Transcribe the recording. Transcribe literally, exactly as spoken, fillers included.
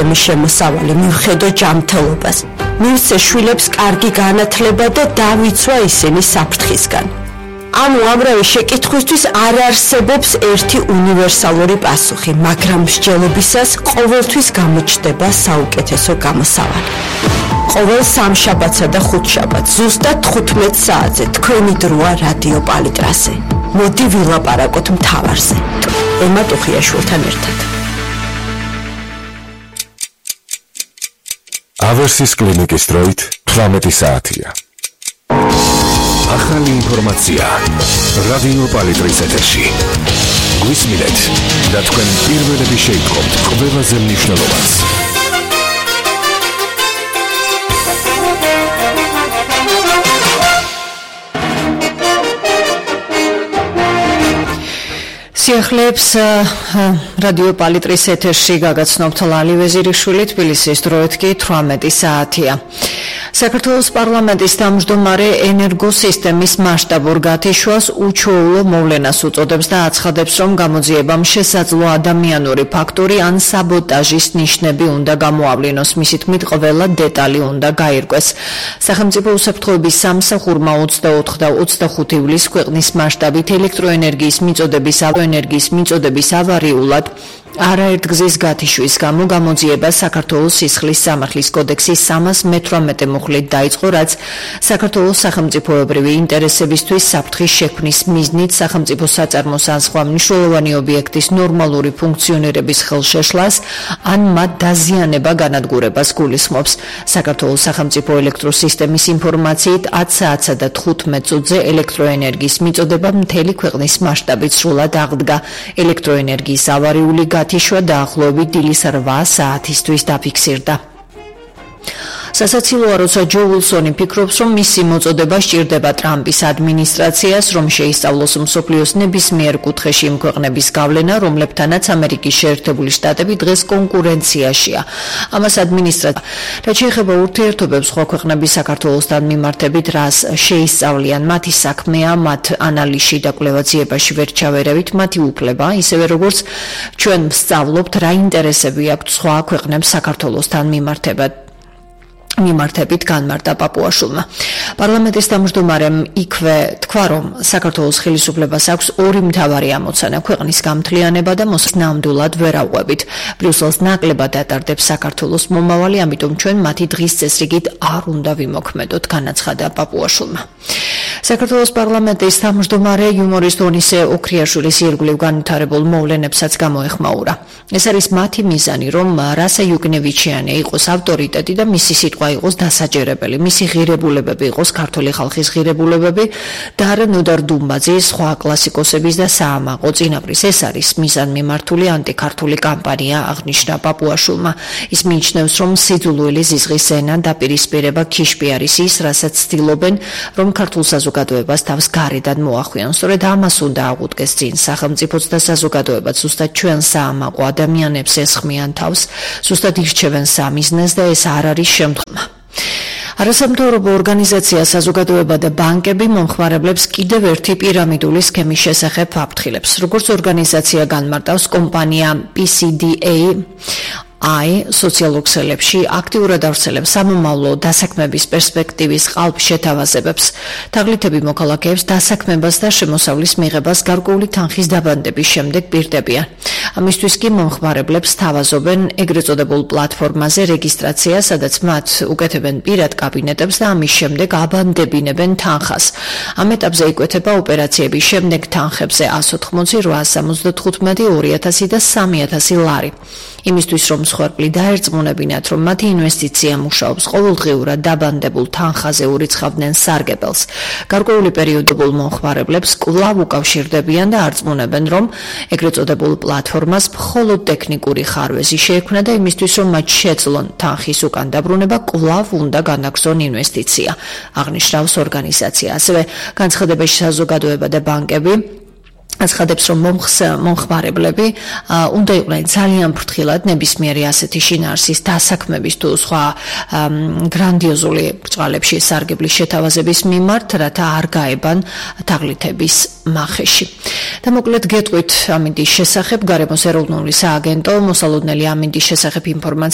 სისტემის შემოსავალი, მივხედო ჯანმრთელობას, მივცე შვილებს კარგი განათლება და დავიცვა ისინი საფრთხისგან. ანუ ამრავი შეკითხვისთვის არ არსებობს ერთი უნივერსალური პასუხი, მაგრამ მსჯელობისას ყოველთვის გამოჩნდება საუკეთესო გამოსავალი. ყოველ სამშაბათსა და ხუთშაბათს ზუსტად თხუთმეტ საათზე თქვენი დროა რადიო პალიტრაზე. მოდი ვილაპარაკოთ მთავარზე. ემა ტუხიაშვილთან ერთად. ავერსის კლინიკის დროით თვრამეტი საათია. ახალი ინფორმაცია რადიო პალიტრის ეთერში. გვისმინეთ და თქვენ პირველები შეიტყობთ ყველაზე მნიშვნელოვანს. სიახლეებს რადიო პალიტრის ეთერში გაგაცნობთ ლალი ვეზირიშვილი, თბილისის დროით კი თვრამეტი საათია. საქართველოს პარლამენტის თავმჯდომარე ენერგოსისტემის მასშტაბურ გათიშვას უჩვეულო მოვლენას უწოდებს და აცხადებს, რომ გამოძიებამ შესაძლო ადამიანური ფაქტორი ან საბოტაჟის ნიშნები უნდა გამოავლინოს. მისი თქმით, ყველა დეტალი უნდა გაირკვეს. სახელმწიფო უსაფრთხოების სამსახურმა ოცდაოთხ და ოცდახუთი ივლისს ქვეყნის მასშტაბით ელექტროენერგიის მიწოდების ენერგიის მიწოდების ავარიულად არაერთგზის გათიშვის გამო გამოძიება საქართველოს სისხლის სამართლის კოდექსის სამას მეთვრამეტე მუხლით დაიწყო, რაც საქართველოს სახელმწიფოებრივი ინტერესებისთვის საფრთხის შექმნის მიზნით სახელმწიფო საწარმოს ან სხვა მნიშვნელოვანი ობიექტის ნორმალური ფუნქციონირების ხელშეშლას ან მათ დაზიანება განადგურებას გულისხმობს. საქართველოს სახელმწიფო ელექტროსისტემის ინფორმაციით ათ საათსა და თხუთმეტ წუთზე ელექტროენერგიის მიწოდება მთელი ქვეყნის მასშტაბით სრულად აღდგა. ელექტროენერგიის ავარიული გათიშვა დაახლოებით დილის რვა საათისთვის დაფიქსირდა. სასაცილოა, როცა ჯო უილსონი ფიქრობს, რომ მისი მოწოდება სჭირდება ტრამპის ადმინისტრაციას, რომ შეისწავლოს მსოფლიოს ნებისმიერ კუთხეში იმ ქვეყნების გავლენა, რომლებთანაც ამერიკის შეერთებული შტატები დღეს კონკურენციაშია. ამას ადმინისტრაცია, რაც შეეხება ურთიერთობებს სხვა ქვეყნების საქართველოსთან მიმართებით, რას შეისწავლიან, მათი საქმეა, მათ ანალიზში და კვლევაციებაში ვერ ჩავერავით, მათი უფლება, ისევე როგორც ჩვენ ვსწავლობთ, რა ინტერესები აქვთ სხვა ქვეყნებს საქართველოსთან მიმართებად. მიმართებით განმარტა პაპუაშვილმა. პარლამენტის თავმჯდომარემ იქვე თქვა, რომ საქართველოს ხელისუფლებას აქვს ორი მთავარი ამოცანა: ქვეყნის გამთლიანება და მოსნამდვილად ვერ ავყვებით. ბრიუსელს ნაკლებად ატარდებს საქართველოს მომავალი, ამიტომ ჩვენ მათი დღის წესრიგით არ უნდა ვიმოქმედოთ, განაცხადა პაპუაშვილმა. საქართველოს პარლამენტის თავმჯდომარე იუმორისტ ონისე ოქრიაშვილის ირგვლივ განვითარებულ მოვლენებსაც გამოეხმაურა. ეს არის მათი მიზანი, რომ რასა იუკნევიჩიანი იყოს ავტორიტეტი და მისი სიტყვა იყოს დასაჯერებელი, მისი ღირებულებები იყოს ქართული ხალხის ღირებულებები და არა ნოდარ დუმბაძის, სხვა კლასიკოსების და საამაყო წინაპრის. ეს არის მიზანმიმართული ანტიქართული კამპანია, აღნიშნა პაპუაშვილმა. ის მიიჩნევს, რომ სიძულველი ზიზღის ენა დაპირისპირება ქიშპი არის ის, რასაც ცდილობენ, რომ ქართულ საზოგადოებას თავს გარედან მოახვიონ. სწორედ ამას უნდა აღუდგეს წინ სახელმწიფოც და საზოგადოებაც. ზუსტად ჩვენ საამაყო ადამიანებს ესხმიან თავს, ზუსტად ირჩევენ სამიზნეს და ეს არ არის შემდგომა. არასამთავრობო ორგანიზაცია საზოგადოება და ბანკები მომხმარებლებს კიდევ ერთი პირამიდული სქემის შესახებ აფრთხილებს. როგორც ორგანიზაცია განმარტავს, კომპანია პი სი დი ეი აი სოციალურ ქსელებში აქტიურად ავრცელებს სამომავლო დასაქმების პერსპექტივის ყალბ შეთავაზებებს. თაღლითები მოქალაქეებს დასაქმებას და შემოსავლის მიღებას გარკვეული თანხის დაბანდების შემდეგ პირდებიან. ამისთვის კი მომხმარებლებს თავაზობენ ეგრეთ წოდებულ პლატფორმაზე რეგისტრაცია, სადაც მათ უკეთებენ პირად კაბინეტებს და ამის შემდეგ აბანდებინებენ თანხას. ამ ეტაპზე იკვეთება ოპერაციების შემდეგ თანხებზე ათს ოცდაოთხი, რვაას სამოცდათხუთმეტი, ორი ათასი და სამი ათასი ლარი. იმისთვის რომ მსხვერპლი დაერწმუნებინათ, რომ მათი ინვესტიცია მუშაობს, ყოველდღიურად დაბანდებულ თანხაზე ურიცხავდნენ სარგებელს. გარკვეული პერიოდებულ მომხმარებლებს კვლავ უკავშირდებიან და არწმუნებენ, რომ ეგრეთ წოდებულ პლატფორმას მხოლოდ ტექნიკური ხარვეზი შეექმნა და იმისთვის, რომ მათ შეძლონ თანხის უკან დაბრუნება, კვლავ უნდა განაგრძონ ინვესტიცია, აღნიშნავს ორგანიზაცია. ასევე განცხადებაში საზოგადოება და ბანკები აცხადებს, რომ მომხმარებლები უნდა იყვნენ ძალიან ფრთხილად ნებისმიერი ასეთი შინაარსის დასაქმების თუ სხვა გრანდიოზული ბრწყალებში სარგებლის შეთავაზების მიმართ, რათა არ გაებან თაღლითების მახეში. და მოკლედ გეტყვით ამინდის შესახებ, გარემოს ეროვნული სააგენტო მოსალოდნელი ამინდის შესახებ ინფორმაცია